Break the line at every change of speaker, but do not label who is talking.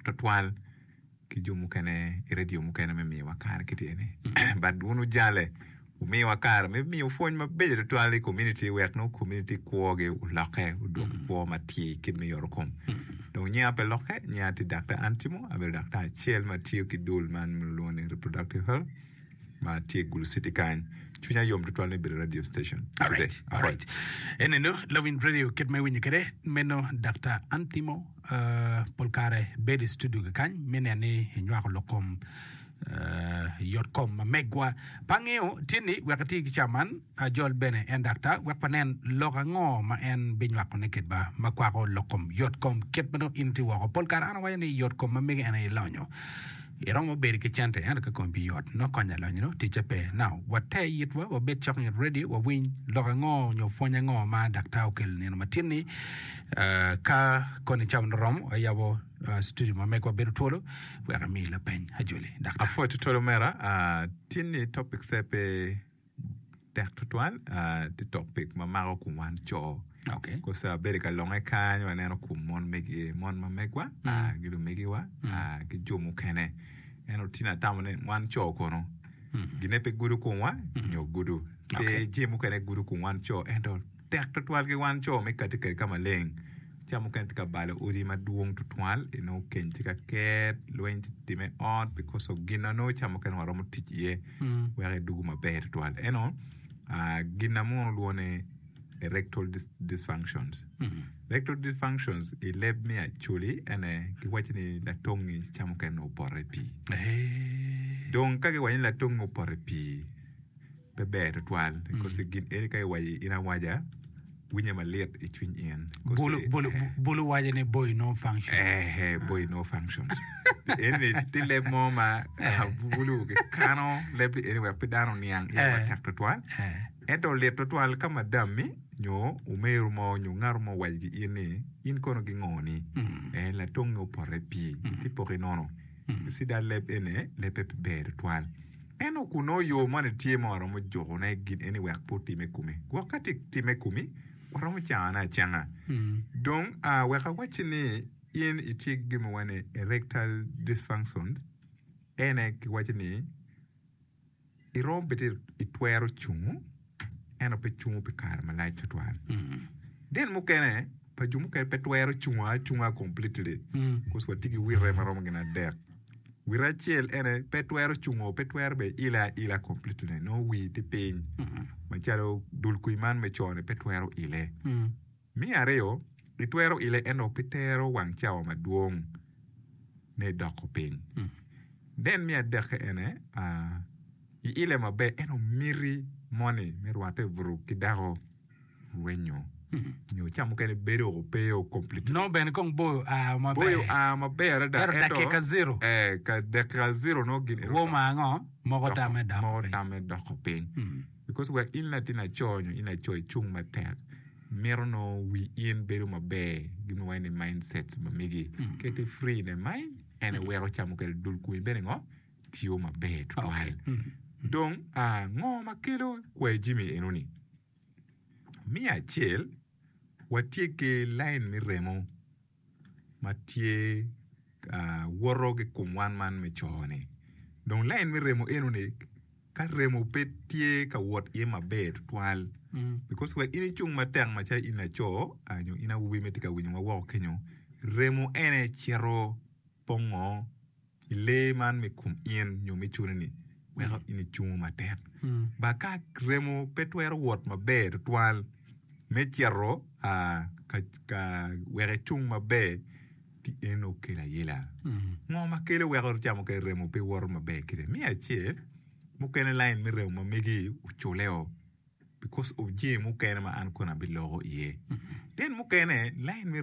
tutwal ki jo mukene i radio mukene me miyowa kare kiti eni. But wun wujale wumiyowa kare me miyo pwony mabeco tutwal i community wek nongo community kwogi olokke odwok kwo matir kit me yoto kom. Dong nyinga pe lokke, nyinga tye Daktar Antimo, abedo daktar acel ma tiyo ki dul man ma lwongo ni Reproductive Health. ma tye i Gulu City kany. Cwinya yom tutwal me bedo i radio station today.
Alright, alright. Enenu, Lawiny Radio kit ma iwinyo kwede, meno Daktar Antimo uh, pol kare bedo i studio kany me neno ni enywako lok kom uh, yot kom ma megwa. Pe angeyo tye ni wek ati ki ca man, ajol bene en daktar wek wanen lok ango ma en binywakone kedwa ma kwako lok kom yot kom kit ma dong in itye woko. Pol kare an awaco ni yot kom ma mege en aye lonyo. Iromo bedo ki cente ento ka komi pe yot nongo konyo alonyino ticce pe. Now, water yitwa wabed cok nget radio wawiny lok ango nyo pwony ango ma daktar okelo nino matin-ni. Uh, ka koni cawa nongo romo ayabo uh, studio ma megwa bedo twolo wek emi lapeny ajoli daktar.
Apwoyo tutwal omera, uh, tin-ni topic se pe Tek tutwal tye topic ma mako kom wan co.
Okay.
Kosa abedo ka longe kany waneno kom mon megi mon ma megwa ki lumegiwa ki jo mukene. Ento tye atamo ni wan co kono gine pe gudo komwa nyo gudo. Pe
Okay.
jami mukene gudo kom wan co ento tek tutwal ki wan co me kati kwede ka maleng. Ca mukene tye ka balo odi madwong tutwal, inongo keny tye ka ket, lweny tye ka timme i ot because of gin ma nongo ca mukene waromo tic iye wek edwogo maber tutwal. Ento gin ma munu lwongo ni erectile dysfunctions. Erectile dysfunctions i leb me Acholi ene giwaco ni latongi ca mukene nongo opoto i pii. Dong ka giwaco ni latongi opoto i pii, pe ber tutwal kosi gin eni ka iwaco in awaca winye malit i cwiny in
Bulu, bulu, bulu waco ni boy no function.
Eh, boy no function. Eni tye leb mo ma bulu kikano leb eni wek pe dano oniang iye matek tutwal. Ento lit tutwal ka madammi nyo omeru mo nyo ngato mo owaco ki in ni in kono gingoni. Eh, latongi opoto i pii, itye poko inono. Ci da leb eni lebbe pe ber tutwal. Ento kun nongo yo moni tye ma waromo jukone gin eni wek pe otime i komi. Gwok ka tye timme i komi, waromo cangone acanga. Dong, wek awacci ni in itye ki gin ma waco ni erectile dysfunctions, ene kiwaco ni iromo bedo itwero cungo ento pe cungo pi kare malac tutwal. Then mukene pa jo mukene pe twero cungo acunga completely cause watye ki wite maromo gin adek. Wite acel ene pe twero cungo pe twero bene ile aila completely nongo wii tye piny macalo dul kwir man me co ni pe twero ile. Me aryo itwero ile ento pe tero wang cawa madwong ne doko piny. Then me adekke ene iile maber ento miti moni me rwatte i buto ki dako rwenyo nyo ca mukene bedo o pe o completely.
Nongo bene kong boyo oa maber.
Boyo oa maber adada
Ento dakika zero.
Eh, ka dakika zero nongo gin eno
Woma ango? Moko tamme doko
moko
piny.
tamme doko piny. Because wek in latin laco nyo in laco icung matek, mito nongo wi in bedo maber, gin ma waco ni mindsets ma megi. Ka itye free in the mind, en aye weko ca mukene dul komi bene ngo? Tiyo maber tutwal. Dong, ngo ma kelo kwayi jami enoni? Me acel, watye ki lain me remo ma tye ka woto ki kom wan man me co-ni. Dong lain me remo enoni ka remo pe tye ka wot iye maber tutwal because wek in icung matek macalo in laco nyo in awobi ma itye ka winyowa woko kenyo, remo ene cito pongo i lee man me kom in nyo me cuni-ni weko in icungo matek. Ba ka remo pe twero wot maber tutwal me cito ka wek ecung maber ci en okelo ayela. Ngo ma kelo weko camo kwede remo pe woto maber kede? Me acel, mukene lain me remo ma megi oculeo because of jami mukene ma an kono abiloko iye. Then mukene lain me.